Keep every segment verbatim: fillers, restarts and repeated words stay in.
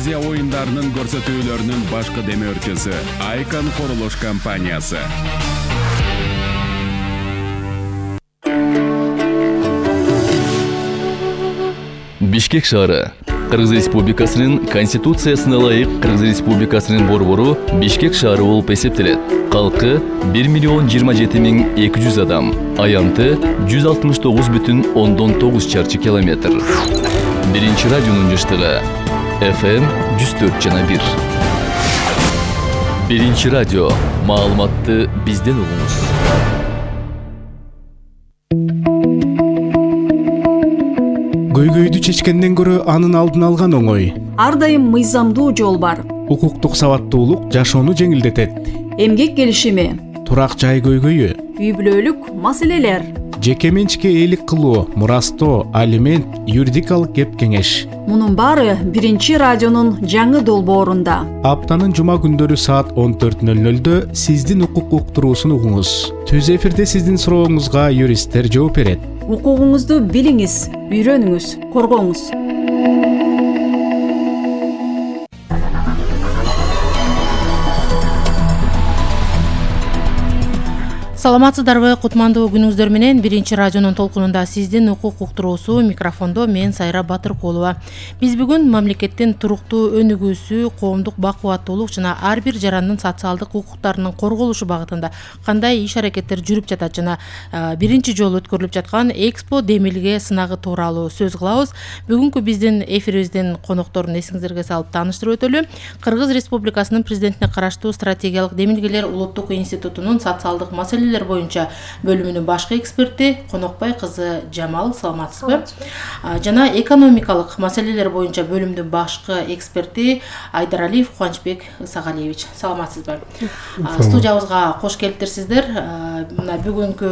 Азия оюндарынын көрсөтүүлөрүнүн башкы демөөрчүсү Айкан курулуш компаниясы. Бишкек шаары. Кыргыз Республикасынын Конституциясына ылайык Кыргыз Республикасынын борбору Бишкек шаары болуп эсептелет. Калкы бир миллион жыйырма жети миң эки жүз адам. Аянты жүз алтымыш тогуз бүтүн ондон тогуз чарчы километр. Биринчи радионун жыштыгы эф эм жүз төрт жана бир. Биринчи радио. Маалыматты бизден угуңуз. Көйгөйдү чечкенден көрө анын алдын алган оңой. Ар дайым мыйзамдуу жол бар. Укуктук сабаттуулук жашоону жеңилдетет. Эмгек келишими, турак жай көйгөйү, үй бүлөлүк маселелер, жеке менчикке ээлик кылуу, мурастоо, алимент, юридикалык кеп кеңеш. Мунун баары биринчи радионун жаңы долбоорунда. Аптанын жума күндөрү саат он төрт нөл нөлдө сиздин укук уктуруусун угуңуз. Түз эфирде сиздин сурооңузга юристтер жооп берет. Укугуңузду билиңиз, үйрөнүңүз, коргоңуз. Саламатсыздарбы, кутмандуу күнүңүздөр менен биринчи радионун толкунунда сиздин укук уктуруусу, микрофондо мен Сайра Батыркулова. Биз бүгүн мамлекеттин туруктуу өнүгүүсү, коомдук бакубаттуулук жана ар бир жарандын социалдык укуктарынын корголушу багытында кандай иш-аракеттер жүрүп жатат жана биринчи жолу өткөрүлүп жаткан Экспо демилге сынагы тууралуу сөз кылабыз. Бүгүнкү биздин эфирибиздин конокторун эсиңиздерге салып тааныштырып өтөлү. Кыргыз Республикасынын президентине караштуу стратегиялык демилгелер улуттук институтунун социалдык маселелер боюнча бөлүмүнүн башкы эксперти Конокбай кызы Жамал, саламатсызбы? Жана экономикалык маселелер боюнча бөлүмүнүн башкы эксперти Айдаралиев Кубанычбек Исагалиевич, саламатсызбы? Студиябызга кош келиптирсиздер. Мына бүгүнкү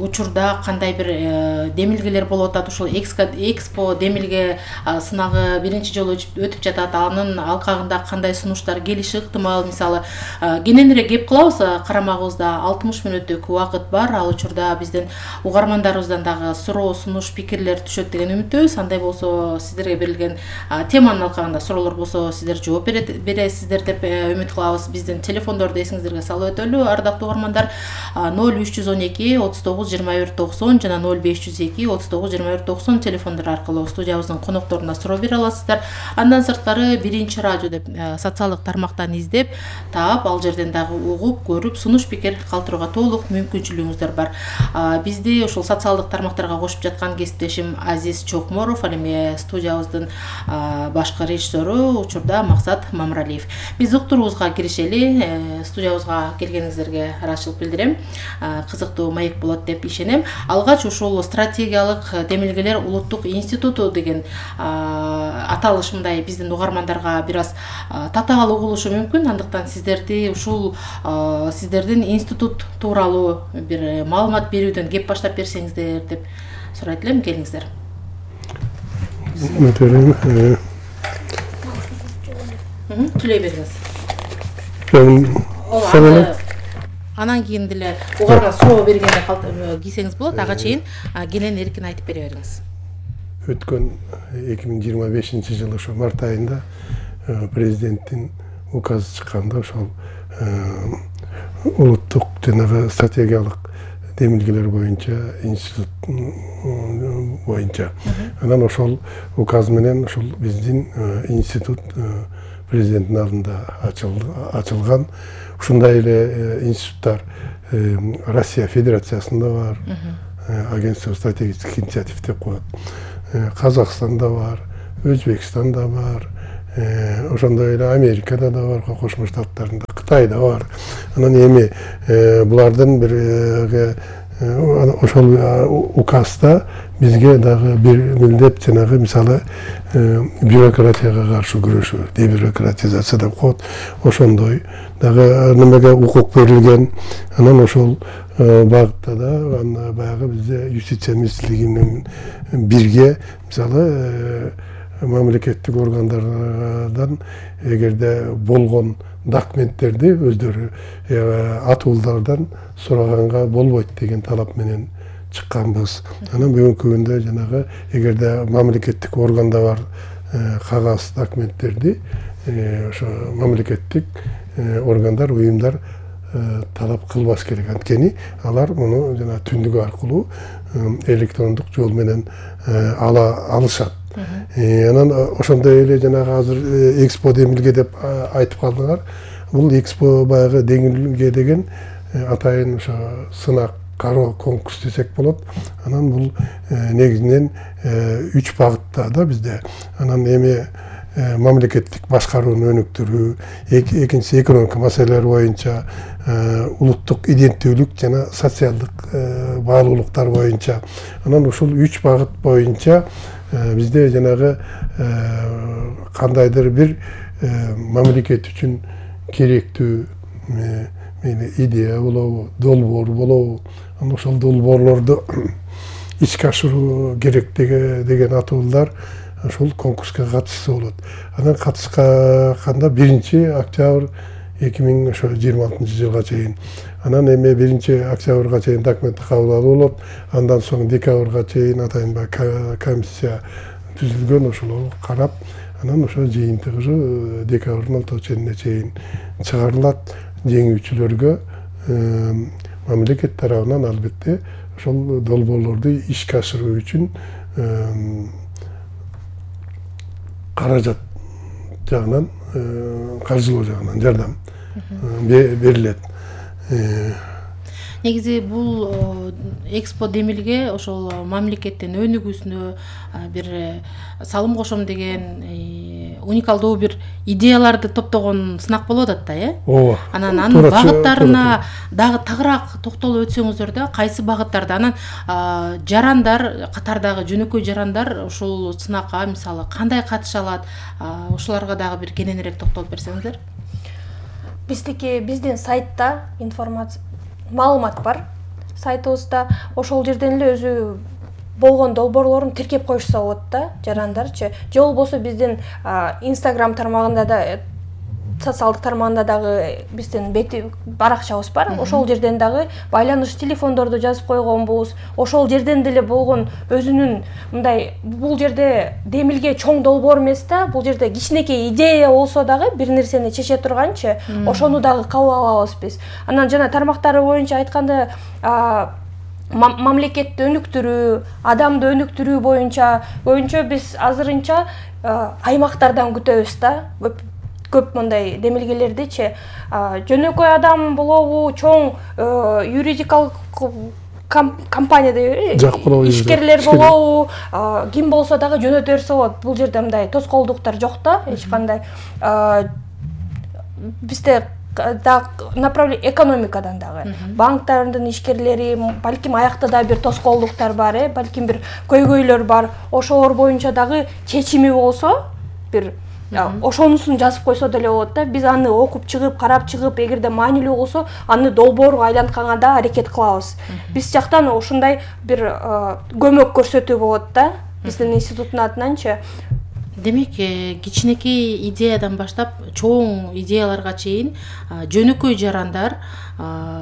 учурда кандай бир демилгелер болуп атат? Ушул Экспо демилге сынагы биринчи жолу өтүп жатат. Анын алкагында кандай сунуштар келиши ыктымал? Мисалы, кененирээк кеп кылабыз, карамагыбызда алтымыш мүнөттүк убакыт бар. Ал учурда биздин угармандарыбыздан дагы суроо, сунуш, пикирлер түшөт деген үмүттөбүз. Андай болсо сиздерге берилген теманын алкагында суроолор болсо сиздер жооп бересиздер деп үмүт кылабыз. Биздин телефондорду эсиңиздерге салып өтөлү. Ардактуу угармандар, ноль үч жүз он эки отуз тогуз жыйырма бир токсон жана ноль беш жүз эки отуз тогуз жыйырма бир токсон телефондор аркылуу студиябыздын конокторуна суроо бере аласыздар. Андан сырткары биринчи радио деп социалдык тармактан издеп таап, ал жерден дагы угуп, көрүп, сунуш, пикир калтырууга толук мүмкүнчүлүгүңүздөр бар. Бизди ушул социалдык тармактарга кошуп жаткан кесиптешим Азиз Чокморов, ал эми студиябыздын башкы режиссеру учурда Максат Мамралиев. Биз уктуруубузга киришели. Студиябызга келгениңиздерге ыраазычылык билдирем. Кызыктуу маек болот деп ишенем. Алгач ушул стратегиялык демилгелер улуттук институту деген аталыш мындай биздин угармандарга бир аз татаал угулушу мүмкүн. Андыктан сиздерди ушул сиздердин институт тууралуу бир маалымат берүүдөн кеп баштап берсеңиздер деп сурайт элем. Келиңиздер. Түлөй бериңиз. Анан кийин деле угарман суроо бергенде кийсеңиз болот. Ага чейин кенен эркин айтып бере бериңиз. Өткөн эки миң жыйырма бешинчи жылы ошо март айында президенттин указы чыкканда ошол улуттук жанагы стратегиялык демилгелер боюнча институт боюнча. Анан ошол указ менен ошол биздин институт президенттин алдында ачылган. Ушундай эле институттар Россия Федерациясында бар, агентство стратегических инициатив деп коет. Казакстанда бар, Өзбекстанда бар, ошондой эле Америкада да бар, Кошмо Штаттарында, Кытайда бар. Анан эми булардын бир ошол указда бизге дагы бир милдет жанагы мисалы бюрократияга каршы күрөшүү, дебюрократизация деп коет. Ошондой дагы немеге укук берилген. Анан ошол багытта да баягы бизде юстиция министрлиги менен бирге мисалы мамлекеттик органдардан эгерде болгон документтерди өздөрү атуулардан сураганга болбойт деген талап менен чыкканбыз. Анан бүгүнкү күндө жанагы эгерде мамлекеттик органда бар кагаз документтерди ошо мамлекеттик органдар, уюмдар талап кылбаш керек. Анткени алар муну жана түндүк аркылуу электрондук жол менен ала алышат. Анан ошондой эле жанагы азыр Экспо Демилге деп айтып калдыңар. Бул Экспо баягы деңилге деген атайын ошо сынак кароо конкурс десек болот. Анан бул негизинен үч багытта да бизде. Анан эми мамлекеттик башкарууну өнүктүрүү, экинчиси экономика маселелери боюнча, улуттук иденттүүлүк жана социалдык баалуулуктар боюнча. Анан ушул үч багыт боюнча бизде жанагы кандайдыр бир мамлекет үчүн керектүү идея болобу, долбоор болобу, анан ошол долбоорлорду ишке ашыруу керек деген атуулар ошол конкурска катышса болот. Анан катышканда биринчи октябрь эки миң жыйырма алтынчы жылга чейин. Анан эми биринчи октябрга чейин документти кабыл алуу болот. Андан соң декабрга чейин атайын комиссия түзүлгөн, ошол карап, анан ошо жыйынтыгы декабрдын алтымыш чейине чейин чыгарылат. Жеңүүчүлөргө мамлекет тарабынан албетте ошол долбоорлорду ишке ашыруу үчүн каражат жагынан, каржылоо жагынан жардам берилет. Негизи бул Экспо Демилге ошол мамлекеттин өнүгүүсүнө бир салым кошом деген уникалдуу бир идеяларды топтогон сынак болуп атат да, э? Ооба. Анан анын багыттарына дагы тагыраак токтолуп өтсөңүздөр да, кайсы багыттарда? Анан жарандар, катардагы жөнөкөй жарандар ушул сынакка мисалы кандай катыша алат? Ошолорго дагы бир кененирээк токтолуп берсеңиздер. Биздики биздин сайтта информация маалымат бар. Сайтыбызда ошол жерден эле өзү болгон долбоорлорун тиркеп коюшса болот да, жарандарчы. Же болбосо биздин Instagram тармагында да, социалдык тармагында дагы биздин бети баракчабыз бар. Ошол жерден дагы байланыш телефондорду жазып койгонбуз. Ошол жерден деле болгон өзүнүн мындай бул жерде Демилге чоң долбоор эмес да, бул жерде кичинекей идея болсо дагы бир нерсени чече турганчы, ошону дагы кабыл алабыз биз. Анан жана тармактары боюнча айтканда мамлекетти өнүктүрүү, адамды өнүктүрүү боюнча боюнча биз азырынча аймактардан күтөбүз да. Көп мындай демилгелердичи жөнөкөй адам болобу, чоң юридикалык компанияда ишкерлер болобу, ким болсо дагы жөнөтө берсе болот. Бул жерде мындай тоскоолдуктар жок да, эч кандай. Бизде направление экономикадан дагы, банктардын ишкерлери, балким аякта да бир тоскоолдуктар бар, э, балким бир көйгөйлөр бар. Ошолор боюнча дагы чечими болсо, бир ошонусун жазып койсо деле болот да. Биз аны окуп чыгып, карап чыгып, эгерде маанилүү болсо, аны долбоорго айлантканга да аракет кылабыз. Биз жактан ушундай бир көмөк көрсөтүү болот да, биздин институттун атынанчы. Демек, кичинекей идеядан баштап чоң идеяларга чейин жөнөкөй жарандар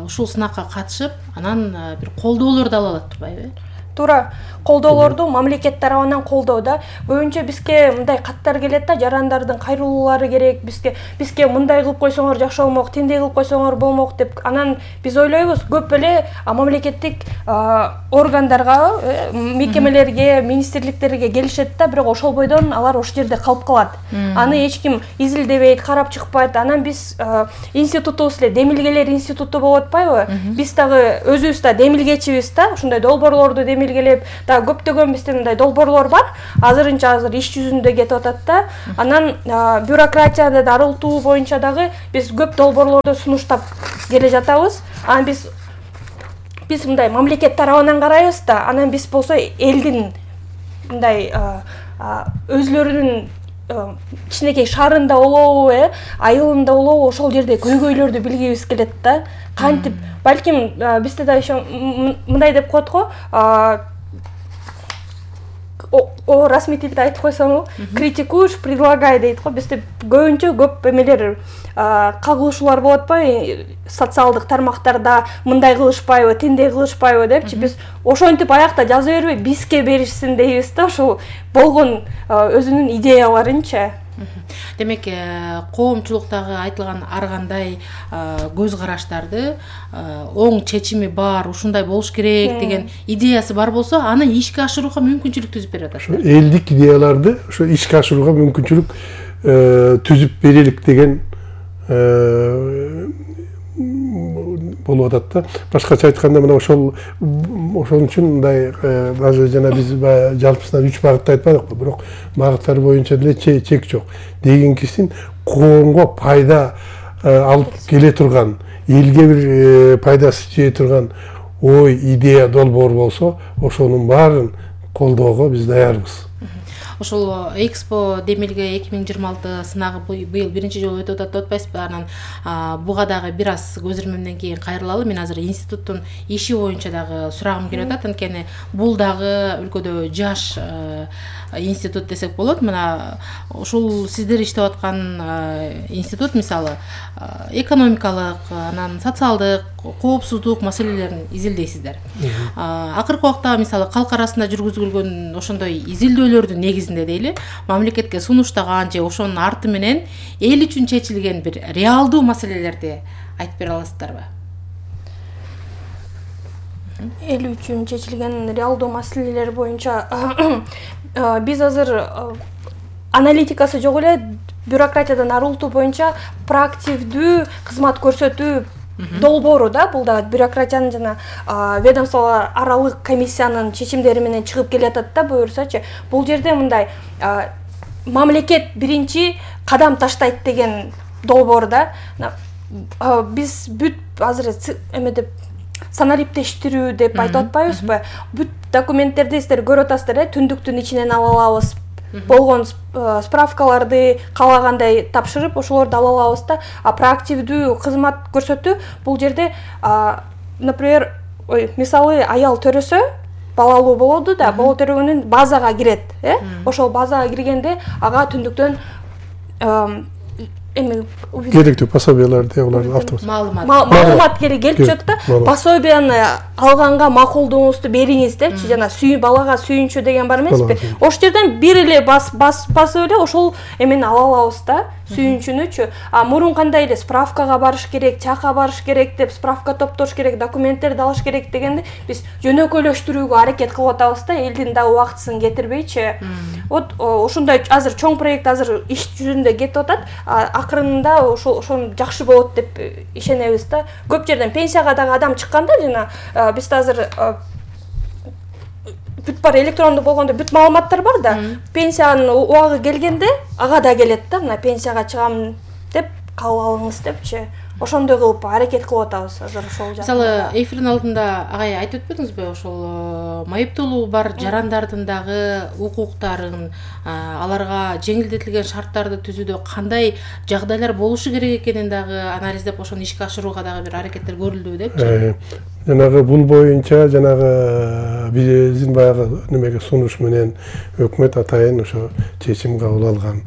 ушул сынакка катышып, анан бир колдоолорду ала алат турбайбы? Туура, колдоолорду мамлекет тарабынан колдоо да. Боюнча бизге мындай каттар келет да, жарандардын кайрылуулары керек, бизге бизге мындай кылып койсоңор жакшы болмок, тиндей кылып койсоңор болмок деп. Анан биз ойлойбуз, көп эле мамлекеттик органдарга, мекемелерге, министрликтерге келишет да, бирок ошол бойдон алар ошол жерде калып калат. Аны эч ким изилдебейт, карап чыкпайт. Анан биз институтубуз эле Демилгелер институту болуп атпайбы? Биз дагы өзүбүз да демилгечибиз да, ушундай долбоорлорду демилгелеп, да көптөгөн биздин мындай долбоорлор бар. Азырынча азыр иш жүзүндө кетип атат да. Анан бюрократияны дарылтуу боюнча дагы биз көп долбоорлорду сунуштап келе жатабыз. Анан биз биз мындай мамлекет тарабынан карайбыз да. Анан биз болсо элдин мындай өзлөрүнүн кичинекей шаарында болобу, э, айылында болобу, ошол жерде көйгөйлөрдү билгибиз келет да. Кантип, балким бизде да ошо мындай деп коет го, о расмий тилде айтып койсоңу, критикуешь, предлагай дейт го. Бизде көбүнчө көп эмелер кагылышуулар болот атпайбы, социалдык тармактарда мындай кылышпайбы, тиндей кылышпайбы депчи. Биз ошентип аякта жаза бербей, бизге беришсин дейбиз да, ошол болгон өзүнүн идеяларынча. Демек, коомчулуктагы айтылган ар кандай көз караштарды оң чечими бар, ушундай болуш керек деген идеясы бар болсо, аны ишке ашырууга мүмкүнчүлүк түзүп берип атат. Ошо элдик идеяларды ошо ишке ашырууга мүмкүнчүлүк түзүп берелик деген болуп атат да. Башкача айтканда, мына ошол ошон үчүн мындай даже жана биз жалпысынан үч багытты айтпадыкпы, бирок багыттар боюнча деле чек жок. Дегенкисин коомго пайда алып келе турган, элге бир пайдасы тие турган ой, идея, долбоор болсо, ошонун баарын колдоого биз даярбыз. Ошол Экспо Демилге эки миң жыйырма алты сынагы быйыл биринчи жолу өтүп атат деп атпайсызбы? Анан буга дагы бир аз көзөрмөмдөн кийин кайрылалы. Мен азыр институттун иши боюнча дагы сурагым келип атат. Анткени бул дагы өлкөдө жаш институт десек болот. Мына ушул сиздер иштеп аткан институт мисалы экономикалык, анан социалдык, коопсуздук маселелерин изилдейсиздер. Акыркы убакта мисалы калк арасында жүргүзүлгөн ошондой изилдөөлөрдүн негизинде дейли, мамлекетке сунуштаган же ошонун арты менен эл үчүн чечилген бир реалдуу маселелерди айтып бере аласыздарбы? Эл үчүн чечилген реалдуу маселелер боюнча биз азыр аналитикасы жок эле бюрократиядан арылтуу боюнча проактивдүү кызмат көрсөтүү долбоору да, бул да бюрократиянын жана ведомстволор аралык комиссиянын чечимдери менен чыгып келатат да, буюрсачы. Бул жерде мындай мамлекет биринчи кадам таштайт деген долбоор да. Биз бүт азыр эме деп санариптештирүү деп айтып атпайбызбы? Бүт документтерди сиздер көрүп атасыздар, түндүктүн ичинен ала алабыз. Болгон справкаларды каалагандай тапшырып, ошолорду ала алабыз да. А проактивдүү кызмат көрсөтүү бул жерде, например, ой, мисалы аял төрөсө, балалуу болоду да, бала төрөгөнүн базага кирет, э? Ошол базага киргенде ага түндүктөн эми керектүү пособияларды, улардын автомат маалымат келип чыгат да. Пособияны алганга макулдугуңузду бериңиз депчи, жана сүйүн балага сүйүнчү деген бар эмеспи? Ошол жерден бир эле бас басып эле ошол эмени ала алабыз да, сүйүнчүнүчү. А мурун кандай эле справкага барыш керек, чакка барыш керек деп, справка топтош керек, документтерди алыш керек дегенде биз жөнөкөйлөштүрүүгө аракет кылып атабыз да, элдин да убактысын кетирбейчи. Вот ошондой азыр чоң проект азыр иш жүзүндө кетип атат. Акырында ошол ошону жакшы болот деп ишенебиз да. Көп жерден пенсияга дагы адам чыкканда, жана бизде азыр бүт бар электрондук болгондо бүт маалыматтар бар да. Пенсиянын убагы келгенде ага да келет да, мына пенсияга чыгам деп кабыл алыңыз депчи. Ошондой кылып аракет кылып атабыз азыр ошол жакта. Мисалы, эфирдин алдында агай айтып өтпөдүңүзбү, ошол майыптуулугу бар жарандардын дагы укуктарын, аларга жеңилдетилген шарттарды түзүүдө кандай жагдайлар болушу керек экенин дагы анализдеп, ошону ишке ашырууга дагы бир аракеттер көрүлдүбү депчи. Жанагы бул боюнча жанагы биздин баягы немеге сунуш менен өкмөт атайын ошо чечим кабыл алган.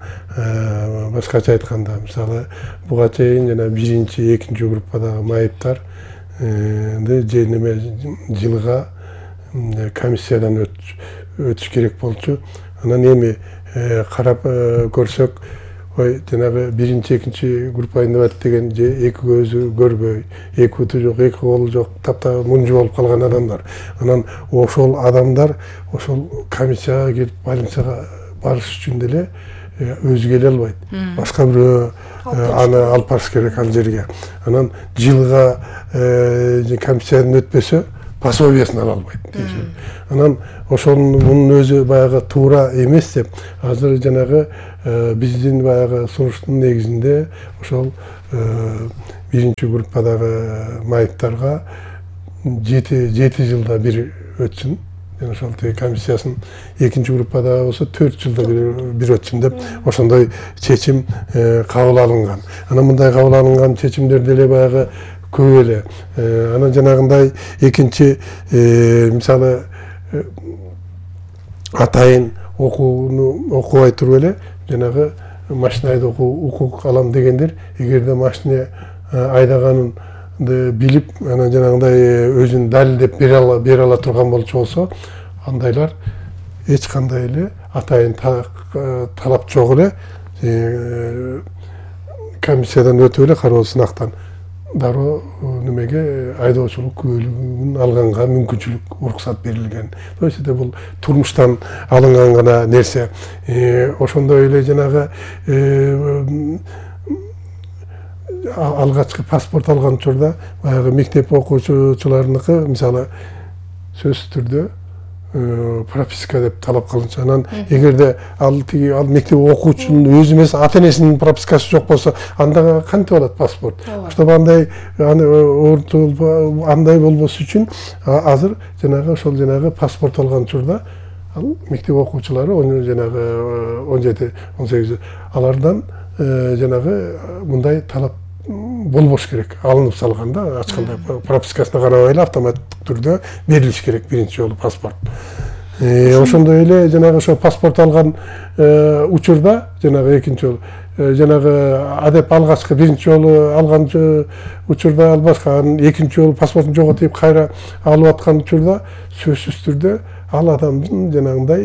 Башкача айтканда, мисалы, буга чейин жана биринчи, экинчи группадагы майыптар же неме жылга комиссиядан өтүш керек болчу. Анан эми карап көрсөк, ой, жанагы биринчи, экинчи группа инвалид деген же эки көзү көрбөй, эки буту жок, эки колу жок, таптаа мунжу болуп калган адамдар. Анан ошол адамдар ошол комиссияга келип больницага барыш үчүн деле өзү келе албайт. Башка бирөө аны алып барыш керек ал жерге. Анан жылга комиссиядан өтпөсө пособиясын ала албайт. Анан ошонун мунун өзү баягы туура эмес деп, азыр жанагы биздин баягы сунуштун негизинде ошол биринчи группадагы майыптарга жети жылда бир өтсүн. Ошол комиссиясын экинчи группада болсо төрт жылда бир өтсүн деп ошондой чечим кабыл алынган. Анан мындай кабыл алынган чечимдер деле баягы көп эле. Анан жанагындай экинчи мисалы атайын окууну окубай туруп эле жанагы машина айдоого укук алам дегендер эгерде машина айдаганын билип анан жанагындай өзүн далилдеп бере ала бере ала турган болчу болсо андайлар эч кандай эле атайын талап жок эле комиссиядан өтүп эле кароо сынактан дароо немеге айдоочулук күбөлүгүн алганга мүмкүнчүлүк уруксат берилген. То есть бул турмуштан алынган гана нерсе. Ошондой эле жанагы алгачкы паспорт алган учурда баягы мектеп окуучуларыныкы мисалы сөзсүз түрдө прописка деп талап кылынчу. Анан эгерде ал тиги ал мектеп окуучунун өзү эмес ата энесинин пропискасы жок болсо анда кантип алат паспорт? Чтобы андай андай болбосу үчүн азыр жанагы ошол жанагы паспорт алган учурда ал мектеп окуучулары жанагы он жети он сегиз алардан жанагы мындай талап болбош керек. Алынып салганда ачкандай пропискасына карабай эле автоматтык түрдө берилиш керек биринчи жолу паспорт. Ошондой эле жанагы ошо паспорт алган учурда жанагы экинчи жолу жанагы адеп алгачкы биринчи жолу алган учурда албашка анан экинчи жолу паспортун жоготуп кайра алып аткан учурда сөзсүз түрдө ал адамдын жанагындай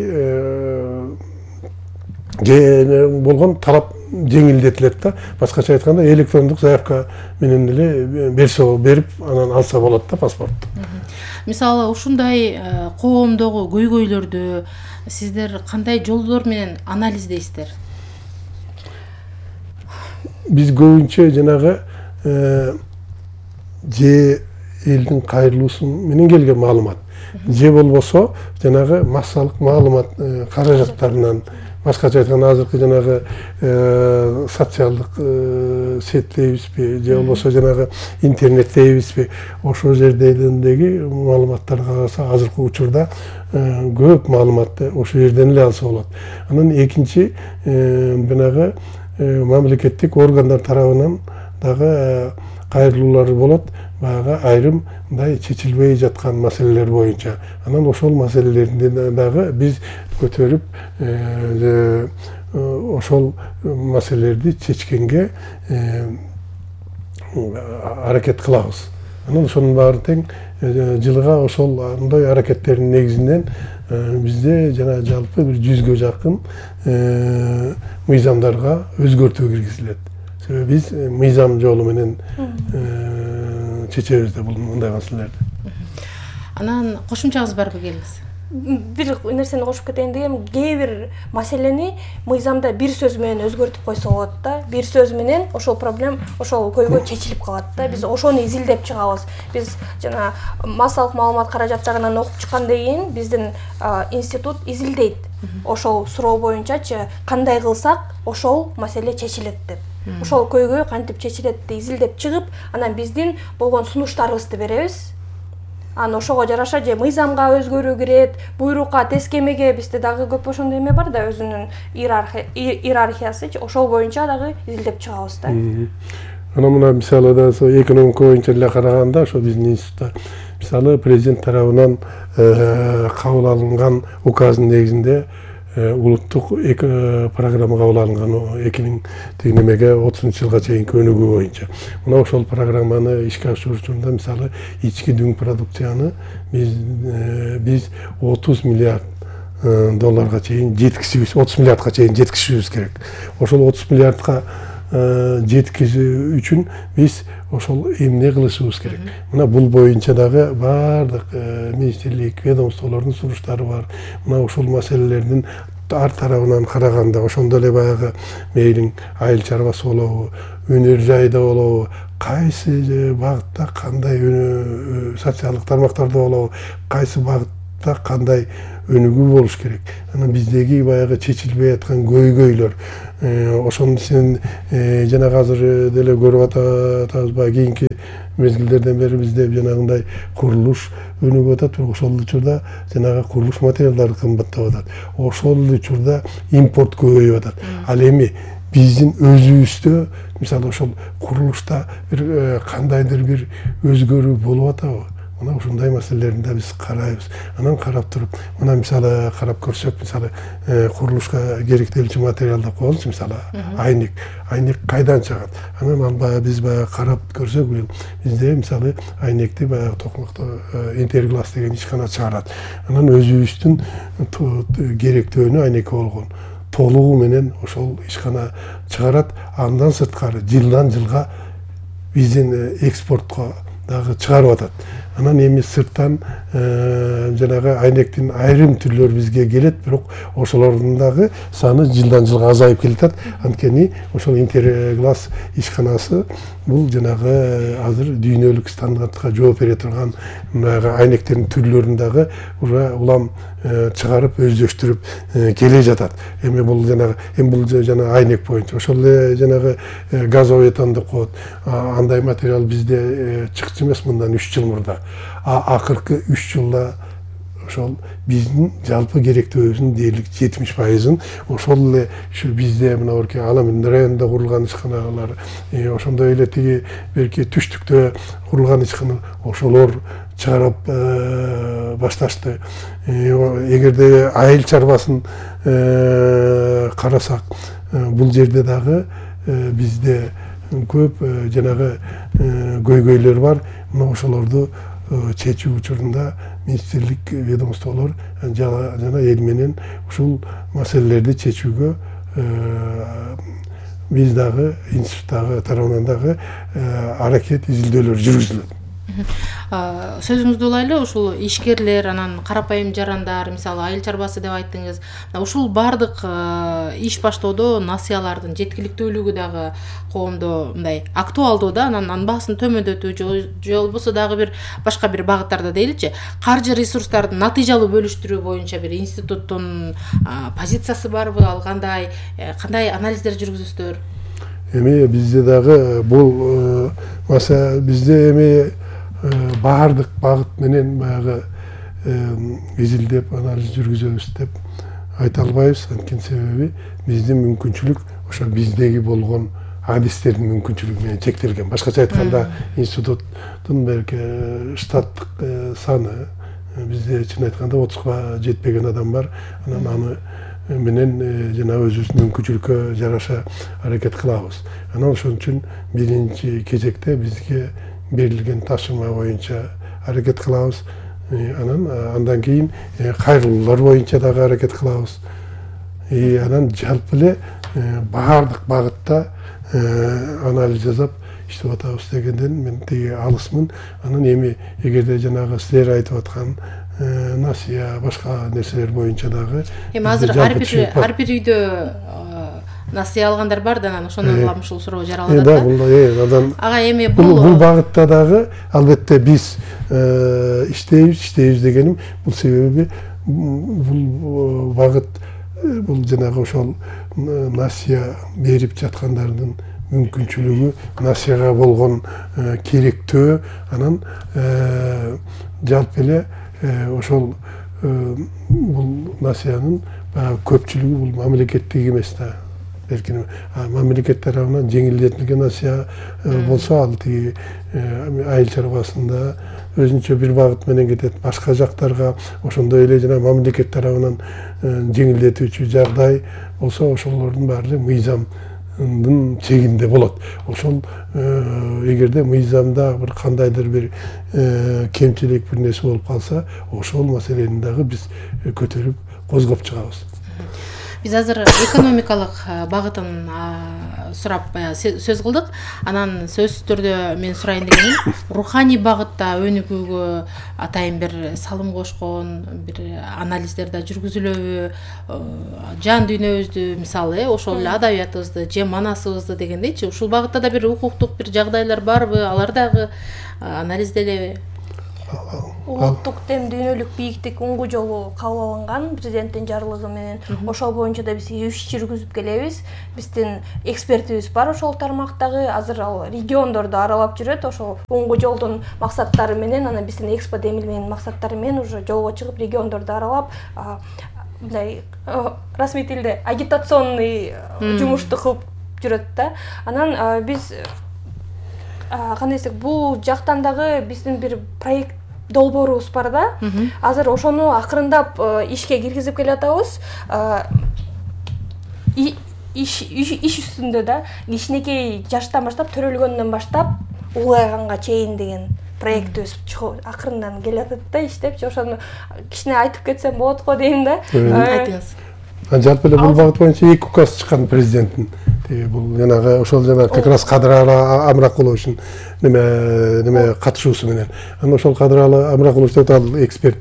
болгон талап жеңилдетилет да. Башкача айтканда электрондук заявка менен эле берсе берип анан алса болот да паспорту. Мисалы ушундай коомдогу көйгөйлөрдү сиздер кандай жолдор менен анализдейсиздер? Биз көбүнчө жанагы же элдин кайрылуусу менен келген маалымат, же болбосо жанагы массалык маалымат каражаттарынан, башкача айтканда азыркы жанагы социалдык сет дейбизби, же болбосо жанагы интернет дейбизби, ошол жердеги маалыматтарга караса азыркы учурда көп маалыматты ошол жерден эле алса болот. Анан экинчи жанагы мамлекеттик органдар тарабынан дагы кайрылуулар болот. Баягы айрым мындай чечилбей жаткан маселелер боюнча. Анан ошол маселелерди дагы биз көтөрүп ошол маселелерди чечкенге аракет кылабыз. Анан ошонун баары тең жылга ошол андай аракеттердин негизинен бизде жана жалпы бир жүзгө жакын мыйзамдарга өзгөртүү киргизилет. Себеби биз мыйзам жолу менен чечебиз да бул мындай маселелерди. Анан кошумчаңыз барбы келиңиз? Бир нерсени кошуп кетейин дегем, кээ бир маселени мыйзамда бир сөз менен өзгөртүп койсо болот да. Бир сөз менен ошол проблем, ошол көйгөй чечилип калат да. Биз ошону изилдеп чыгабыз. Биз жана массалык маалымат каражаттарынан окуп чыккандан кийин биздин институт изилдейт. Ошол суроо боюнчачы кандай кылсак ошол маселе чечилет деп. Ошол көйгөй кантип чечилет деп изилдеп чыгып, анан биздин болгон сунуштарыбызды беребиз. Анан ошого жараша же мыйзамга өзгөрүү кирет, буйрукка, тескемеге бизде дагы көп ошондой эме бар да, өзүнүн иерархиясы, ошол боюнча дагы изилдеп чыгабыз да. Анан мына мисалы да экономика боюнча эле караганда, ошо биздин институтта мисалы президент тарабынан кабыл алынган указдын негизинде улуттук программа кабыл алынган эки миң немеге отузунчу жылга чейинки өнүгүү боюнча. Мына ошол программаны ишке ашыруучунда мисалы ички дүң продукцияны биз биз отуз миллиард долларга чейин жеткизишибиз, отуз миллиардка чейин жеткизишибиз керек. Ошол отуз миллиардка жеткизүү үчүн биз ошол эмне кылышыбыз керек. Мына бул боюнча дагы баардык министрлик, ведомстволордун сунуштары бар. Мына ошол маселелердин ар тарабынан караганда, ошондо эле баягы мейлиң айыл чарбасы болобу, өнөр жайда болобу, кайсы багытта кандай социалдык тармактарда болобу, кайсы багытта кандай өнүгүү болуш керек. Анан биздеги баягы чечилбей аткан көйгөйлөр, ошонун сен жанагы азыр деле көрүп атабызбы, кийинки мезгилдерден бери бизде жанагындай курулуш өнүгүп атат, ошол учурда жанагы курулуш материалдары кымбаттап атат. Ошол учурда импорт көбөйүп атат. Ал эми биздин өзүбүздө мисалы ошол курулушта бир кандайдыр бир өзгөрүү болуп атабы? мына ушундай маселелерин да биз карайбыз. Анан карап туруп, мына мисалы карап көрсөк, мисалы курулушка керектелүүчү материалды коелучу, мисалы айнек. Айнек кайдан чыгат? Анан албай биз баягы карап көрсөк, бизде мисалы айнекти баягы токмокто Интерглас деген ишкана чыгарат. Анан өзүбүздүн керектөөнү айнеки болгон толугу менен ошол ишкана чыгарат. Андан сырткары жылдан жылга биздин экспортко дагы чыгарып атат. Анан эми сырттан жанагы айнектин айрым түрлөрү бизге келет, бирок ошолордун дагы саны жылдан жылга азайып келатат. Анткени ошол Интерглас ишканасы бул жанагы азыр дүйнөлүк стандартка жооп бере турган айнектердин түрлөрүн дагы уже улам чыгарып өздөштүрүп келе жатат. Эми бул жанагы эми бул жана айнек боюнча ошол эле жанагы газовый этан деп коет. Андай материал бизде чыкчу эмес мындан үч жыл мурда. А акыркы үч жылда ошол биздин жалпы керектөөбүздүн дээрлик жетимиш пайызын ошол эле ушу бизде мына орке Аламин районунда курулган ишканалар, ошондой эле тиги берки түштүктө курулган ишкана ошолор чыгарып башташты. Эгерде айыл чарбасын карасак, бул жерде дагы бизде көп жанагы көйгөйлөр бар. Мына ошолорду чечүү учурунда министрлик ведомстволор жана эл менен ушул маселелерди чечүүгө биз дагы институттагы тарабынан дагы аракет, изилдөөлөр жүргүзүлөт. Сөзүңүздү улайлы, ушул ишкерлер, анан карапайым жарандар, мисалы айыл чарбасы деп айттыңыз. Ушул бардык иш баштоодо насыялардын жеткиликтүүлүгү дагы коомдо мындай актуалдуу да, анан анбасын төмөндөтүү же болбосо дагы бир башка бир багыттарда дейличи, каржы ресурстардын натыйжалуу бөлүштүрүү боюнча бир институттун позициясы барбы, ал кандай, кандай анализдер жүргүзөсүздөр? Эми бизде дагы бул маса бизде эми баардык багыт менен баягы изилдеп анализ жүргүзөбүз деп айта албайбыз. Анткени себеби биздин мүмкүнчүлүк ошо биздеги болгон адистердин мүмкүнчүлүгү менен чектелген. Башкача айтканда, институттун белки штаттык саны бизде чын айтканда отузга жетпеген адам бар. Анан аны менен жана өзүбүздүн мүмкүнчүлүккө жараша аракет кылабыз. Анан ошон үчүн биринчи кезекте бизге берилген тапшырма боюнча аракет кылабыз. Анан андан кийин кайрылуулар боюнча дагы аракет кылабыз. Анан жалпы эле баардык багытта анализ жасап иштеп атабыз дегенден мен тиги алысмын. Анан эми эгерде жанагы силер айтып аткан насыя, башка нерселер боюнча дагы эми азыр ар бир ар бир үйдө насыя алгандар бар да, анан ошондон улам ушул суроо жаралат да. Бул ага эми бул бул багытта дагы албетте биз иштейбиз, иштейбиз дегеним бул себеби бул багыт бул жанагы ошол насыя берип жаткандардын мүмкүнчүлүгү, насыяга болгон керектөө, анан жалпы эле ошол бул насыянын көпчүлүгү бул мамлекеттик эмес да. Беркин мамлекет тарабынан жеңилдетилген насыя болсо, ал тиги айыл чарбасында өзүнчө бир багыт менен кетет. Башка жактарга ошондой эле жана мамлекет тарабынан жеңилдетүүчү жагдай болсо, ошолордун баары эле мыйзамдын чегинде болот. Ошол эгерде мыйзамда бир кандайдыр бир кемчилик бир нерсе болуп калса, ошол маселени дагы биз көтөрүп козгоп чыгабыз. Биз азыр экономикалык багытын сурап сөз кылдык. Анан сөзсүз түрдө мен сурайын дегеним, руханий багытта өнүгүүгө атайын бир салым кошкон бир анализдер да жүргүзүлөбү? Жан дүйнөбүздү, мисалы, ошол эле адабиятыбызды, же манасыбызды дегендейчи, ушул багытта да бир укуктук бир жагдайлар барбы? Алар дагы анализделеби? Улуттук тем дүйнөлүк бийиктик уңгу жолу кабыл алынган президенттин жарлыгы менен. Ошол боюнча да биз иш жүргүзүп келебиз. Биздин экспертибиз бар ошол тармактагы. Азыр ал региондорду аралап жүрөт. Ошол уңгу жолдун максаттары менен, анан биздин Экспо демилменин максаттары менен уже жолго чыгып региондорду аралап, мындай расмий тилде агитационный жумушту кылып жүрөт да. Анан биз кандай десек, бул жактан дагы биздин бир проект долбоорубуз бар да. Азыр ошону акырындап ишке киргизип келатабыз. Иш иш үстүндө да кичинекей жаштан баштап төрөлгөндөн баштап улайганга чейин деген проектибиз акырындан келатат да, иштеп. Ошону кичине айтып кетсем болот го дейм да. Айтыңыз. Жалпы эле бул багыт боюнча эки указ чыккан президенттин. Бул жанагы ошол жана как раз Кадыралы Амракуловичтин неме неме катышуусу менен. Анан ошол Кадыралы Амракулович ал эксперт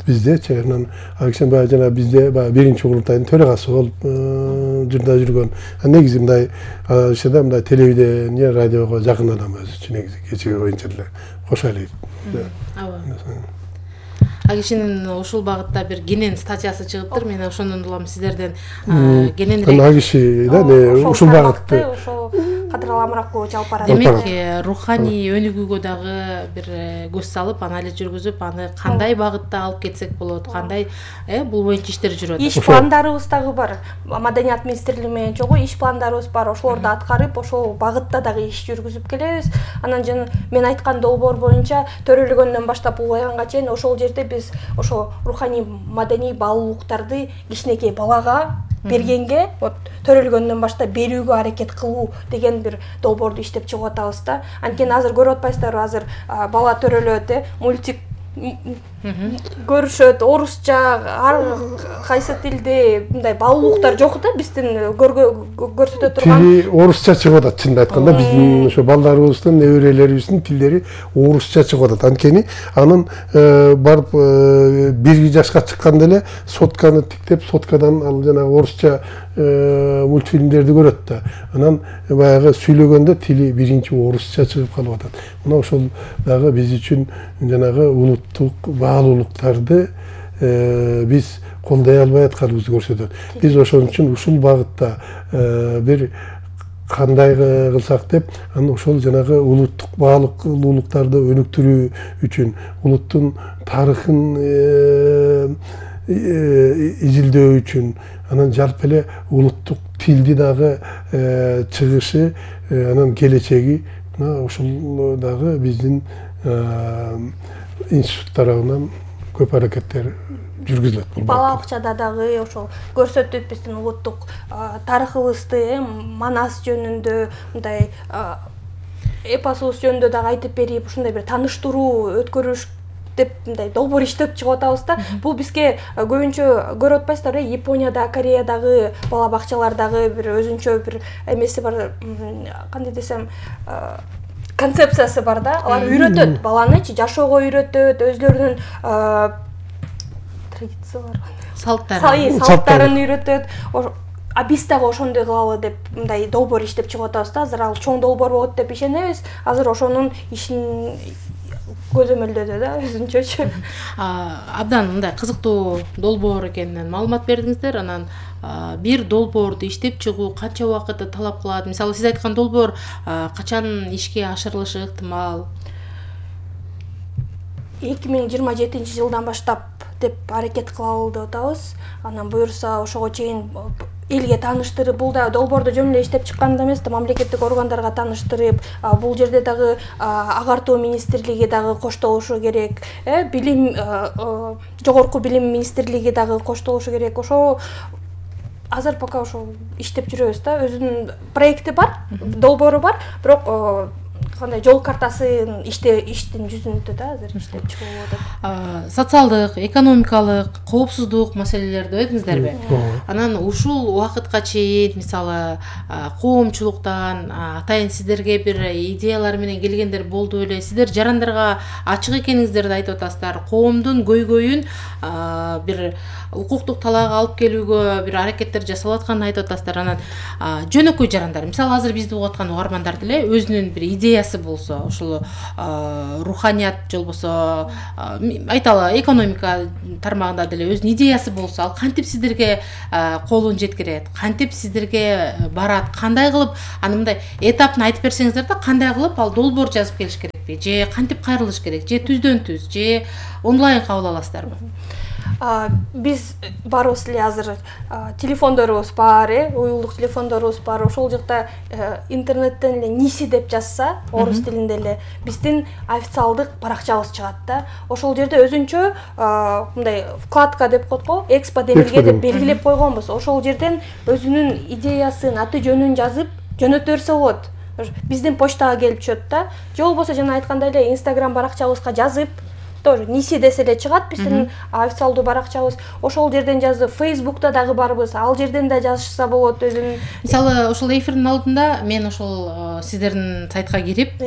биздечи. Анан ал киши баягы жана бизде баягы биринчи курултайдын төрагасы болуп жырда жүргөн. Негизи мындай ишеде мындай телевидение, радиого жакын адам өзү үчүн негизи кечеги боюнча деле кошо элек. А кишинин ушул багытта бир кенен статьясы чыгыптыр. Мен ошондон улам сиздерден кененирээк. Ана киши да ушул багытты ошол Кадыралы Амракулович алып барат. Демек, руханий өнүгүүгө дагы бир көз салып, анализ жүргүзүп, аны кандай багытта алып кетсек болот, кандай бул боюнча иштер жүрөт. Иш пландарыбыз дагы бар. Маданият министрлиги менен чогуу иш пландарыбыз бар. Ошолорду аткарып, ошол багытта дагы иш жүргүзүп келебиз. Анан жана мен айткан долбоор боюнча төрөлгөндөн баштап улайганга чейин ошол жерде биз ошо руханий маданий баалуулуктарды кичинекей балага бергенге, вот төрөлгөндөн баштап берүүгө аракет кылуу деген бир долбоорду иштеп чыгып атабыз да. Анткени азыр көрүп атпайсыздарбы, азыр бала төрөлөт, э, мультик көрүшөт, орусча, ар кайсы тилде мындай баалуулуктар жок да, биздин көрсөтө турган. Тили орусча чыгып атат, чынын айтканда биздин ошо балдарыбыздын, неберелерибиздин тилдери орусча чыгып атат. Анткени анын барып бир жашка чыкканда эле сотканы тиктеп, соткадан ал жана орусча мультфильмдерди көрөт да. Анан баягы сүйлөгөндө тили биринчи орусча чыгып калып атат. Мына ошол дагы биз үчүн жанагы улуттук баалуулуктарды биз колдой албай атканыбызды көрсөтөт. Биз ошон үчүн ушул багытта бир кандай кылсак деп, анан ошол жанагы улуттук баалуулуктарды өнүктүрүү үчүн, улуттун тарыхын изилдөө үчүн, анан жалпы эле улуттук тилди дагы чыгышы, анан келечеги ушул дагы биздин институт тарабынан көп аракеттер жүргүзүлөт. Бул бала бакчада дагы ошол көрсөтүп биздин улуттук тарыхыбызды, манас жөнүндө, мындай эпосубуз жөнүндө дагы айтып берип, ушундай бир тааныштыруу өткөрүш деп мындай долбоор иштеп чыгып атабыз да. Бул бизге көбүнчө көрүп атпайсыздарбы, Японияда, Кореядагы бала бакчалардагы бир өзүнчө бир эмеси бар, кандай десем, концепциясы бар да. Алар үйрөтөт баланычы, жашоого үйрөтөт, өзлөрүнүн традицияларын, салттарын, салттарын үйрөтөт. А биз дагы ошондой кылалы деп мындай долбоор иштеп чыгып атабыз да. Азыр ал чоң долбоор болот деп ишенебиз. Азыр ошонун ишин көзөмөлдөдө да, өзүнчөчү. Абдан мындай кызыктуу долбоор экенинен маалымат бердиңиздер. Анан бир долбоорду иштеп чыгуу канча убакытты талап кылат? Мисалы, сиз айткан долбоор качан ишке ашырылышы ыктымал? эки миң жыйырма жетинчи жылдан баштап деп аракет кылалы деп атабыз. Анан буюрса ошого чейин элге тааныштырып, бул да долбоорду жөн эле иштеп чыккан да эмес да, мамлекеттик органдарга тааныштырып, бул жерде дагы агартуу министрлиги дагы коштолушу керек, э, билим, жогорку билим министрлиги дагы коштолушу керек. Ошо азыр пока ошо иштеп жүрөбүз да. Өзүнүн проекти бар, долбоору бар, бирок кандай жол картасын иште иштин жүзүндө да азыр иштеп чыгып атат. Социалдык, экономикалык, коопсуздук маселелерди өтүңүздөрбү? Анан ушул убакытка чейин мисалы коомчулуктан атайын сиздерге бир идеялар менен келгендер болду эле. Сиздер жарандарга ачык экениңиздерди айтып атасыздар. Коомдун көйгөйүн бир укуктук талаага алып келүүгө бир аракеттер жасалып атканын айтып атасыздар. Анан жөнөкөй жарандар, мисалы азыр бизди угуп аткан угармандар деле өзүнүн бир идеясы болсо, ушул руханият же болбосо айталы экономика тармагында деле өзүнүн идеясы болсо, ал кантип сиздерге колун жеткирет, кантип сиздерге барат, кандай кылып, аны мындай этапын айтып берсеңиздер да, кандай кылып ал долбоор жазып келиш керекпи, же кантип кайрылыш керек, же түздөн түз, же онлайн кабыл аласыздарбы? биз барыбыз эле азыр телефондорубуз бар, э, уюлдук телефондорубуз бар. Ошол жакта интернеттен эле ниси деп жазса, орус тилинде эле биздин официалдык баракчабыз чыгат да. Ошол жерде өзүнчө мындай вкладка деп коет го, Экспо Демилге деп белгилеп койгонбуз. Ошол жерден өзүнүн идеясын, аты жөнүн жазып жөнөтө берсе болот. Биздин почтага келип түшөт да. Же болбосо жана айткандай эле Instagram баракчабызга жазып, тоже ниси десе эле чыгат биздин официалдуу баракчабыз. Ошол жерден жазып, Facebook'та дагы барбыз. Ал жерден да жазышса болот өзүнүн. Мисалы, ошол эфирдин алдында мен ошол сиздердин сайтка кирип,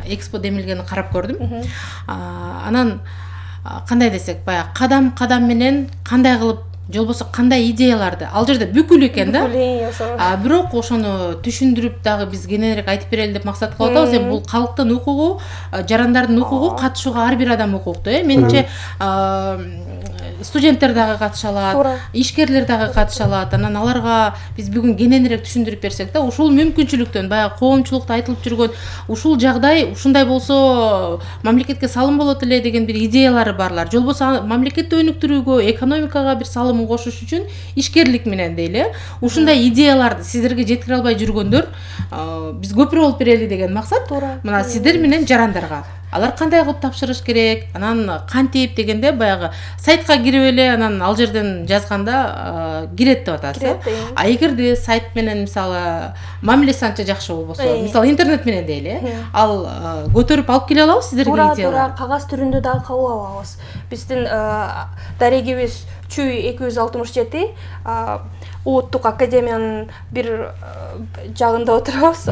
Экспо Демилгени карап көрдүм. Анан кандай десек, баягы кадам-кадам менен кандай кылып, же болбосо кандай идеяларды, ал жерде бүкүл экен да. А бирок ошону түшүндүрүп дагы биз кененирээк айтып берели деп максат кылып атабыз. Эми бул калктын укугу, жарандардын укугу, катышууга ар бир адам укуктуу, э. Менимче студенттер дагы катыша алат, ишкерлер дагы катыша алат. Анан аларга биз бүгүн кененирээк түшүндүрүп берсек да, ушул мүмкүнчүлүктөн, баягы коомчулукта айтылып жүргөн ушул жагдай, ушундай болсо мамлекетке салым болот эле деген бир идеялары барлар. Же болбосо мамлекетти өнүктүрүүгө, экономикага бир салымын кошуш үчүн ишкерлик менен дейли, ушундай идеяларды сиздерге жеткире албай жүргөндөр биз көпүрө болуп берели деген максат. Мына сиздер менен жарандарга алар кандай кылып тапшырыш керек, анан кантип дегенде баягы сайтка кирип эле, анан ал жерден жазганда кирет деп атасыз. А эгерде сайт менен мисалы мамилеси анча жакшы болбосо, мисалы интернет менен дейли, ал көтөрүп алып келе алабыз сиздерге идеяларды. Туура, кагаз түрүндө дагы кабыл алабыз. Биздин дарегибиз Чүй эки жүз алтымыш жети, Улуттук академиянын бир жагында отурабыз,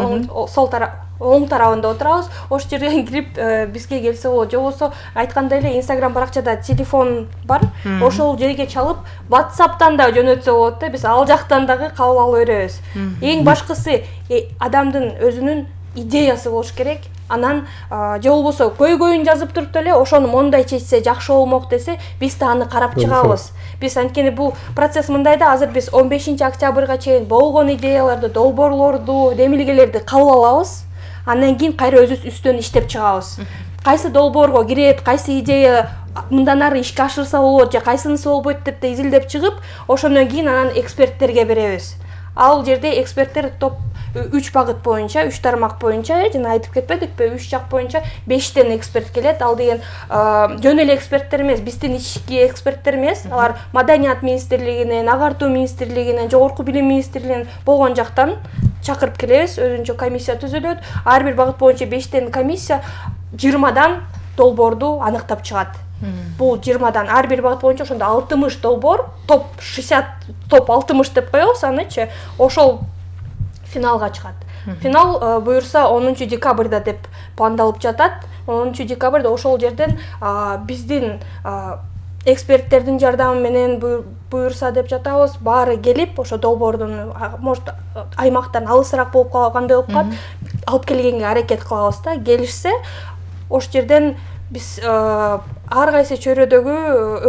сол тарап оң тарабында отурабыз. Ошол жерден кирип бизге келсе болот. Же болбосо айткандай эле Instagram баракчада телефон бар. Ошол жерге чалып, WhatsApp'тан да жөнөтсө болот да. Биз ал жактан дагы кабыл алып беребиз. Эң башкысы адамдын өзүнүн идеясы болуш керек. Анан же болбосо көйгөйүн жазып туруп эле ошону мондай чечсе жакшы болмок десе, биз да аны карап чыгабыз. Биз анткени бул процесс мындай да, азыр биз он бешинчи октябрга чейин болгон идеяларды, долбоорлорду, демилгелерди кабыл алабыз. Андан кийин кайра өзүбүз үстөн иштеп чыгабыз. Кайсы долбоорго кирет, кайсы идея мындан ары ишке ашырса болот, же кайсынысы болбойт деп да изилдеп чыгып, ошондон кийин анан эксперттерге беребиз. Ал жерде эксперттер топ үч багыт боюнча, үч тармак боюнча, жана айтып кетпедикпи, үч жак боюнча бештен эксперт келет. Ал деген жөн эле эксперттер эмес, биздин ички эксперттер эмес. Алар Маданият министрлигинен, Агартуу министрлигинен, Жогорку билим министрлигинен болгон жактан чакырып келебиз. Өзүнчө комиссия түзүлөт. Ар бир багыт боюнча бештен комиссия жыйырмадан долбоорду аныктап чыгат. Бул жыйырмадан ар бир багыт боюнча ошондо алтымыш долбоор, топ шестьдесят, топ алтымыш деп коебуз анычы. Ошол финалга чыгат. Финал буюрса онунчу декабрда деп пландалып жатат. онунчу декабрда ошол жерден биздин эксперттердин жардамы менен буюрса деп жатабыз. Баары келип, ошо долбоордун может аймактан алысыраак болуп калгандай болуп калат, алып келгенге аракет кылабыз да. Келишсе, ошол жерден биз ар кайсы чөйрөдөгү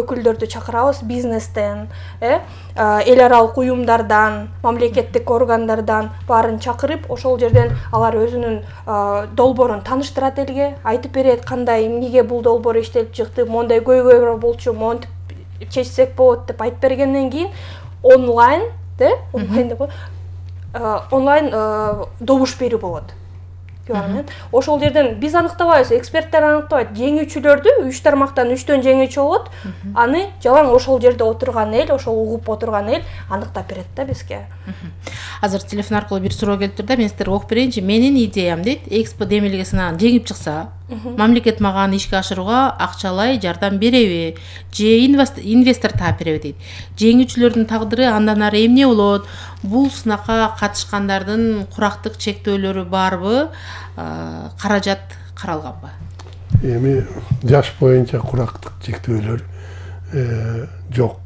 өкүлдөрдү чакырабыз, бизнестен, э, эл аралык уюмдардан, мамлекеттик органдардан баарын чакырып, ошол жерден алар өзүнүн долбоорун тааныштырат элге, айтып берет кандай, эмнеге бул долбоор иштелип чыкты, мондай көйгөй болчу, монтип чечсек болот деп айтып бергенден кийин онлайн, де, онлайн деп онлайн добуш берүү болот. Ошол жерден биз аныктабайбыз, эксперттер аныктабайт. Жеңүүчүлөрдү үч тармактан үчтөн жеңүүчү болот. Аны жалаң ошол жерде отурган эл, ошол угуп отурган эл аныктап берет да бизге. Азыр телефон аркылуу бир суроо келип тур да, мен сиздерге окуп берейинчи. Менин идеям дейт, Экспо демилгесинен жеңип чыкса, мамлекет мага аны ишке ашырууга акчалай жардам береби, же инвестор таап береби дейт. Жеңүүчүлөрдүн тагдыры андан ары эмне болот? Бул сынакка катышкандардын курактык чектөөлөрү барбы? Каражат каралганбы? Эми жаш боюнча курактык чектөөлөр жок.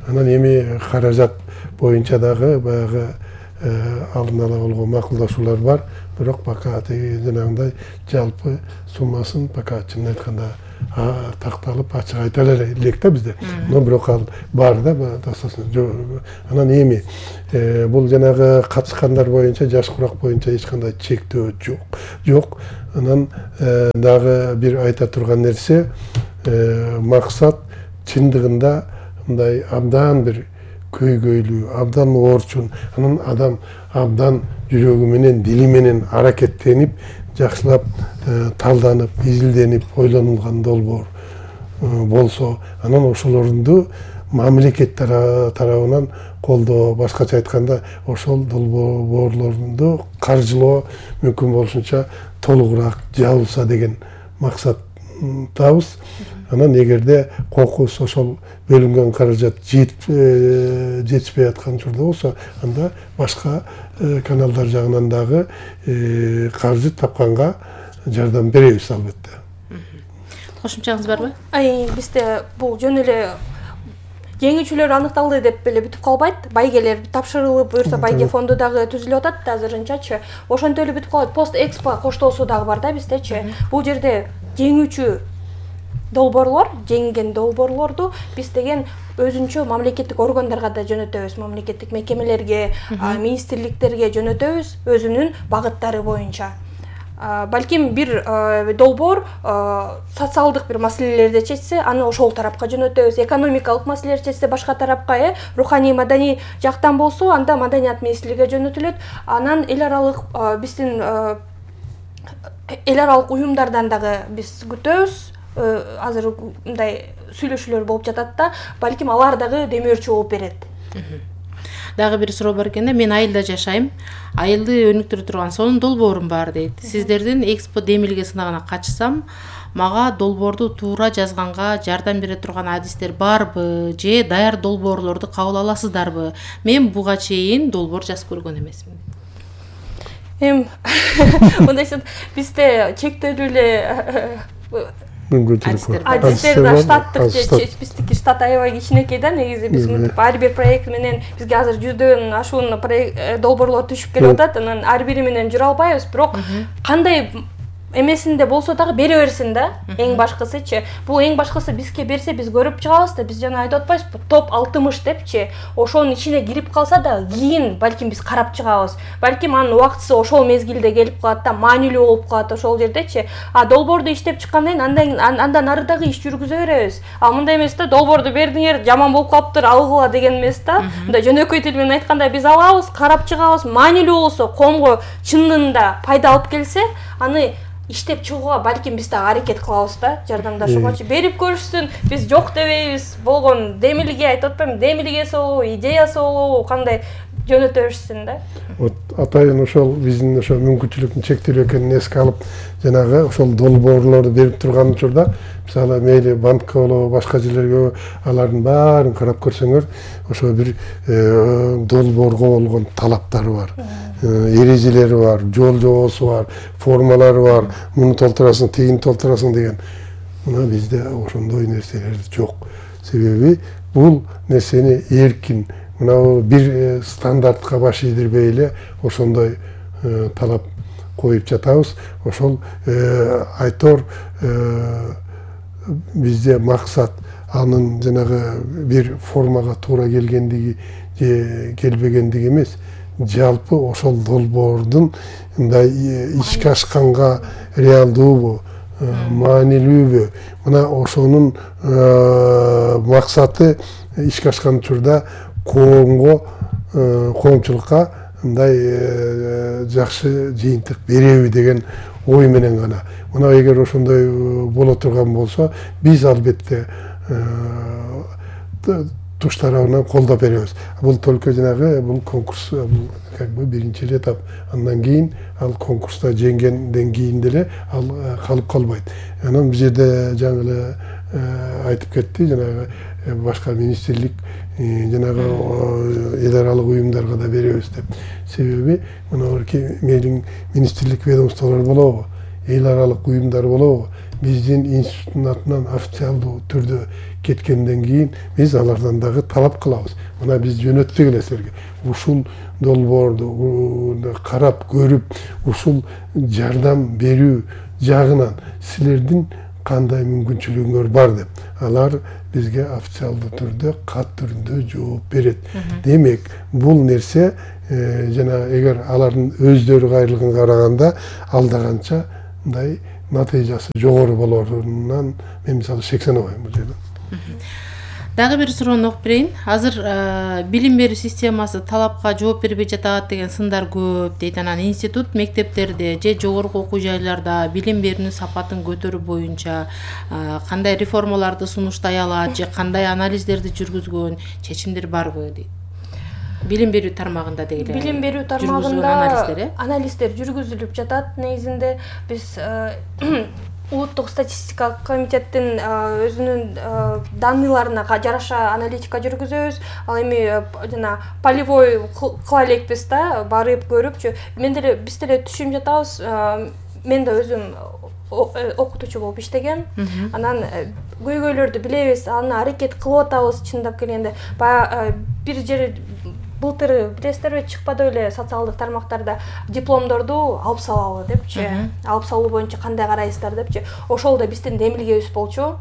Анан эми каражат боюнча дагы баягы алдын ала болгон макулдашуулар бар, бирок пока жанагындай жалпы суммасын пока чынын айтканда такталып ачык айта элек да бизде. Но бирок ал бар да, достосун. Анан эми бул жанагы катышкандар боюнча, жаш курак боюнча эч кандай чектөө жок. Жок. Анан дагы бир айта турган нерсе, максат чындыгында мындай абдан бир көйгөйлүү, абдан оорчун, анан адам абдан жүрөгү менен, дили менен аракеттенип, жакшылап талданып, изилденип, ойлонулган долбоор болсо, анан ошолорду мамлекет тарабынан колдоо, башкача айтканда, ошол долбоорлорду каржылоо мүмкүн болушунча толугураак жабылса деген максаттабыз. Анан эгерде кокус ошол бөлүнгөн каражат жетишпей аткан учурда болсо, анда башка каналдар жагынан дагы каржы тапканга жардам беребиз албетте. Кошумчаңыз барбы? Ай, бизде бул жөн эле жеңүүчүлөр аныкталды деп эле бүтүп калбайт. Байгелер тапшырылып, буюрса байге фонду дагы түзүлүп атат азырынчачы. Ошентип эле бүтүп калбайт. Пост экспо коштоосу дагы бар да биздечи. Бул жерде жеңүүчү долбоорлор, жеңген долбоорлорду биз деген өзүнчө мамлекеттик органдарга да жөнөтөбүз, мамлекеттик мекемелерге, министрликтерге жөнөтөбүз өзүнүн багыттары боюнча. Балким бир долбоор социалдык бир маселелерди чечсе, аны ошол тарапка жөнөтөбүз. Экономикалык маселелерди чечсе башка тарапка, э, руханий маданий жактан болсо, анда маданият министрлигине жөнөтүлөт. Анан эл аралык биздин эл аралык уюмдардан дагы биз күтөбүз. Азыр мындай сүйлөшүүлөр болуп жатат да, балким алар дагы демөөрчү болуп берет. Дагы бир суроо бар экен да, мен айылда жашайм. Айылды өнүктүрө турган сонун долбоорум бар дейт. Сиздердин экспо демилге сынагына катышсам, мага долбоорду туура жазганга жардам бере турган адистер барбы, же даяр долбоорлорду кабыл аласыздарбы? Мен буга чейин долбоор жазып көргөн эмесмин. Эм, мындайча бизде чектелүү эле адистерде штаттык, биздики штат аябай кичинекей да, негизи биз ар бир проект менен бизге азыр жүздөн ашуун долбоорлор түшүп келип атат, анан ар бири менен жүрө албайбыз, бирок кандай эмесинде болсо дагы бере берсин да, эң башкысычы. Бул эң башкысы бизге берсе биз көрүп чыгабыз да, биз жана айтып атпайбызбы, топ алтымыш депчи, ошонун ичине кирип калса да, кийин балким биз карап чыгабыз. Балким анын убактысы ошол мезгилде келип калат да, маанилүү болуп калат ошол жердечи. А долбоорду иштеп чыккандан кийин андан андан ары дагы иш жүргүзө беребиз. А мындай эмес да, долбоорду бердиңер, жаман болуп калыптыр, алгыла деген эмес да. Мындай жөнөкөй тил менен айтканда биз алабыз, карап чыгабыз, маанилүү болсо, коомго чынында пайда алып келсе, аны иштеп чыгууга балким биз дагы аракет кылабыз да, жардамдашуугачы. Берип көрүшсүн, биз жок дебейбиз. Болгон демилге айтып атпаймынбы, демилгеси болобу, идеясы болобу, кандай жөнөтө беришсин да. Вот атайын ошол биздин ошо мүмкүнчүлүктүн чектелүү экенин эске алып, жанагы ошол долбоорлорду берип турган учурда, мисалы мейли банкка болобу, башка жерлерге алардын баарын карап көрсөңөр, ошо бир долбоорго болгон талаптары бар. Эрежелери бар, жол жобосу бар, формалары бар, муну толтурасың, тигини толтурасың деген. Мына бизде ошондой нерселер жок. Себеби бул нерсени эркин, мына бир стандартка баш ийдирбей эле ошондой талап коюп жатабыз. Ошол айтор бизде максат анын жанагы бир формага туура келгендиги же келбегендиги эмес, жалпы ошол долбоордун мындай ишке ашканга реалдуубу, маанилүүбү, мына ошонун максаты ишке ашкан учурда коомго, коомчулукка мындай жакшы жыйынтык береби деген ой менен гана. Мына эгер ошондой боло турган болсо, биз албетте туш тарабынан колдоп беребиз. Бул только жанагы бул конкурс, бул как бы биринчи этап. Андан кийин ал конкурста жеңгенден кийин деле ал калып калбайт. Анан бул жерде жаңы эле айтып кетти, жанагы башка министрлик, жанагы эл аралык уюмдарга да беребиз деп. Себеби мына мейлиң министрлик ведомстволор болобу, эл аралык уюмдар болобу, биздин институттун атынан официалдуу түрдө кеткенден кийин биз алардан дагы талап кылабыз. Мына биз жөнөттүк эле силерге. Ушул долбоорду карап көрүп, ушул жардам берүү жагынан силердин кандай мүмкүнчүлүгүңөр бар деп. Алар бизге официалдуу түрдө, кат түрүндө жооп берет. Демек, бул нерсе жана эгер алардын өздөрү кайрылганга караганда алдаганча мындай натыйжасы жогору болорунан мен мисалы шектенебейм бул жерден. Дагы бир суроону окуп берейин. Азыр билим берүү системасы талапка жооп бербей жатат деген сындар көп дейт. Анан институт мектептерде же жогорку окуу жайларда билим берүүнүн сапатын көтөрүү боюнча кандай реформаларды сунуштай алат же кандай анализдерди жүргүзгөн, чечимдер барбы дейт. Билим берүү тармагында деги эле. Билим берүү тармагында анализдер жүргүзүлүп жатат. Негизинде биз Улуттук статистикалык комитеттин өзүнүн данныйларына жараша аналитика жүргүзөбүз. Ал эми жана полевой кыла элекпиз да, барып көрүпчү. Мен деле биз деле түшүнүп жатабыз. Мен да өзүм окутуучу болуп иштегем. Анан көйгөйлөрдү билебиз, аны аракет кылып атабыз чындап келгенде. Баягы бир жери былтыр билесиздерби, чыкпады эле социалдык тармактарда дипломдорду алып салалы депчи, алып салуу боюнча кандай карайсыздар депчи. Ошол да биздин демилгебиз болчу.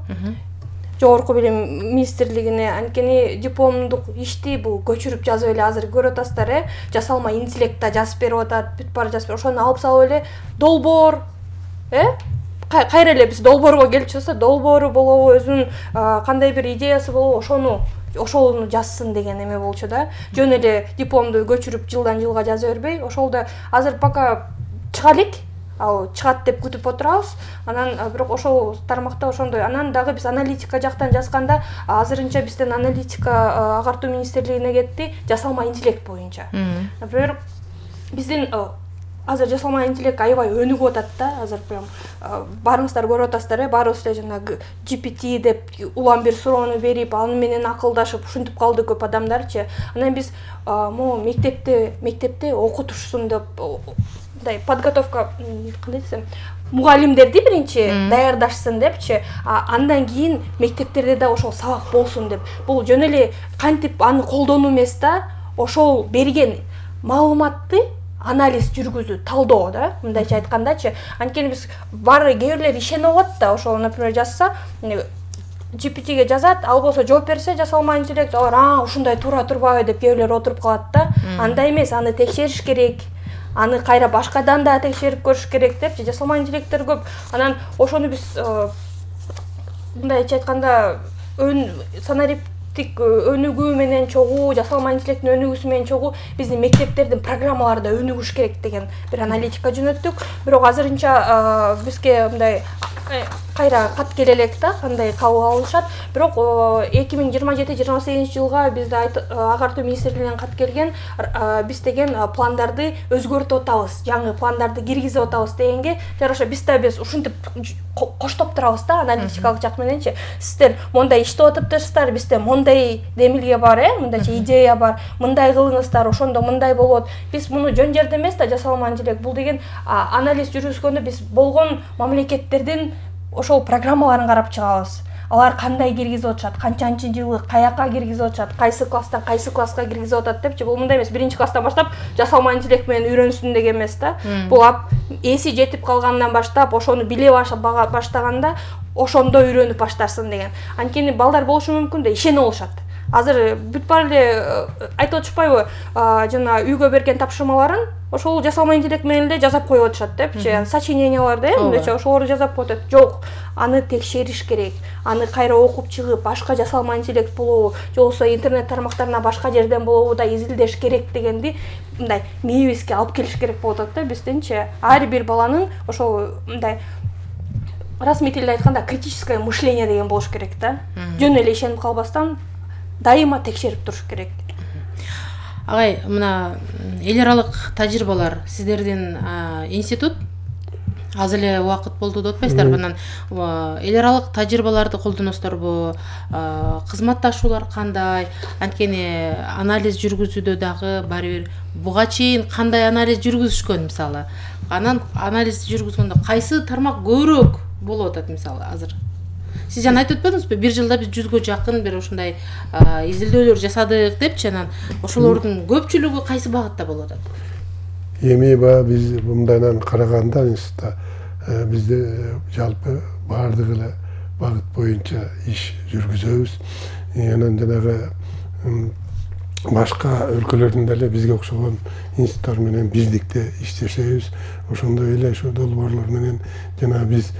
Жогорку билим министрлигине анткени дипломдук ишти бул көчүрүп жазып эле азыр көрүп атасыздар, э, жасалма интеллектте жазып берип атат, бүт баары жазып берип, ошону алып салып эле долбоор, э, кайра эле биз долбоорго келип чыкса, долбоору болобу, өзүнүн кандай бир идеясы болобу, ошону ошону жазсын деген эме болчу да. Жөн эле дипломду көчүрүп жылдан жылга жаза бербей, ошол да азыр пока чыга элек, ал чыгат деп күтүп отурабыз. Анан бирок ошол тармакта ошондой. Анан дагы биз аналитика жактан жазганда, азырынча бизден аналитика агартуу министрлигине кетти, жасалма интеллект боюнча. Например, биздин азыр жасалма интеллект аябай өнүгүп атат да. Азыр прям баарыңыздар көрүп атасыздар, э, баарыбыз эле жанагы джи пи ти деп улам бир суроону берип, аны менен акылдашып ушинтип калды көп адамдарчы. Анан биз могу мектепте мектепте окутушсун деп мындай подготовка кандай десем, мугалимдерди биринчи даярдашсын депчи, андан кийин мектептерде да ошол сабак болсун деп. Бул жөн эле кантип аны колдонуу эмес да, ошол берген маалыматты анализ жүргүзүү, талдоо да, мындайча айткандачы. Анткени биз баары кээ бирлер ишенип алат да, ошол, например, жазса, джи пи ти-ге жазат, ал болсо жооп берсе, жасалма интеллект, алар а ушундай туура турбайбы деп кээ бирлер отуруп калат да. Андай эмес, аны текшериш керек. Аны кайра башкадан да текшерип көрүш керек депчи, жасалма интеллекттер көп. Анан ошону биз мындайча айтканда санариптик өнүгүү менен чогуу, жасалма интеллекттин өнүгүүсү менен чогуу биздин мектептердин программалары да өнүгүш керек деген бир аналитика жөнөттүк. Бирок азырынча бизге мындай кайра кат келе элек да, кандай кабыл алышат. Бирок эки миң жыйырма жети жыйырма сегизинчи жылга бизде агартуу министрлигинен кат келген, биз деген пландарды өзгөртүп атабыз, жаңы пландарды киргизип атабыз дегенге жараша биз да биз ушинтип коштоп турабыз да, аналитикалык жак мененчи. Сиздер мондай иштеп атыптырсыздар, бизде мондай демилге бар, э, мындайча идея бар, мындай кылыңыздар, ошондо мындай болот. Биз муну жөн жерде эмес да, жасалма интеллект. Бул деген анализ жүргүзгөндө биз болгон мамлекеттердин ошол программаларын карап чыгабыз. Алар кандай киргизип атышат, канчанчы жылы каяка киргизип атышат, кайсы класстан кайсы класска киргизип атат депчи. Бул мындай эмес, биринчи класстан баштап жасалма интеллект менен үйрөнсүн деген эмес да. Бул эси жетип калгандан баштап, ошону биле баштаганда ошондо үйрөнүп баштарсын деген. Анткени балдар болушу мүмкүн да, ишенип алышат. Азыр бүт баары эле айтып атышпайбы, жана үйгө берген тапшырмаларын ошол жасалма интеллект менен эле жазап коюп атышат депчи. Сочиненияларды, э, мындайча ошолорду жазап коюп атат. Жок, аны текшериш керек. Аны кайра окуп чыгып, башка жасалма интеллект болобу, же болбосо интернет тармактарына башка жерден болобу да изилдеш керек дегенди мындай мээбизге алып келиш керек болуп атат да биздинчи. Ар бир баланын ошол мындай расмий тилде айтканда критическое мышление деген болуш керек да. Жөн эле ишенип калбастан дайыма текшерип туруш керек. Агай, мына эл аралык тажрыйбалар, сиздердин институт аз эле убакыт болду деп атпайсыздарбы? Анан эл аралык тажрыйбаларды колдоносуздарбы? Кызматташуулар кандай? Анткени анализ жүргүзүүдө дагы баары бир буга чейин кандай анализ жүргүзүшкөн мисалы? Анан анализ жүргүзгөндө кайсы тармак көбүрөөк болуп атат мисалы азыр? Сиз жана айтып өтпөдүңүзбү? Бир жылда биз жүзгө жакын бир ушундай изилдөөлөр жасадык депчи. Анан ошолордун көпчүлүгү кайсы багытта болуп атат? Эми баягы биз мындайдан караганда институтта бизде жалпы баардык эле багыт боюнча иш жүргүзөбүз. Анан жанагы башка өлкөлөрдүн деле бизге окшогон институттар менен биздикте иштешебиз. Ошондой эле ошо долбоорлор менен жана биз